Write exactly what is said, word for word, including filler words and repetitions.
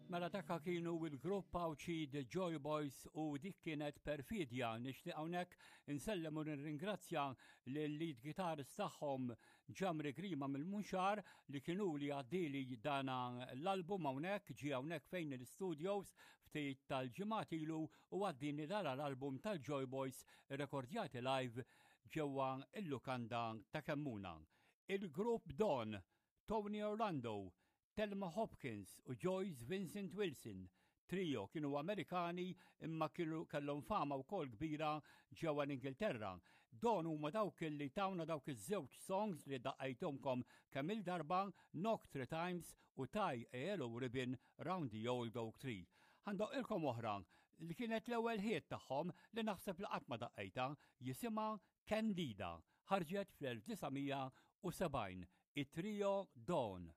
Mela dak kienu il-grupp Għawdxi The Joy Boys u dik kienet "Perfidja". Nixtieq hawnhekk insellem u nirringrazzja lill-lead guitarist tagħhom, Ġamri Grima mill-Munxar, li kienu li għaddili dana l-album hawnhekk. Ġie hawnhekk fejn l-studios ftit tal-ġimgħat ilu u għaddini dara l-album tal-Joy Boys rekordjati live ġewwa il-lukanda ta' Kemmuna. Il-grupp Dawn, Tony Orlando, Telma Hopkins u Joyce Vincent Wilson, trio kienu Amerikani imma kienu kellhom fama wkoll kbira ġewwa l-Ingilterra. Dawn huma dawk li tawna dawk iż-żewġ songs li daqqajthomlkom kemm il-darba, "Knock Three Times" u "Tie a Yellow Ribbon Round the Old Oak Tree". Ħa ndoqqilkom oħra li kienet l-ewwel hit tagħhom li naħseb li qatt ma daqqejta, jisimha "Candida", ħarġet fl-elf disa' mija u sebgħin, it-trio Dawn.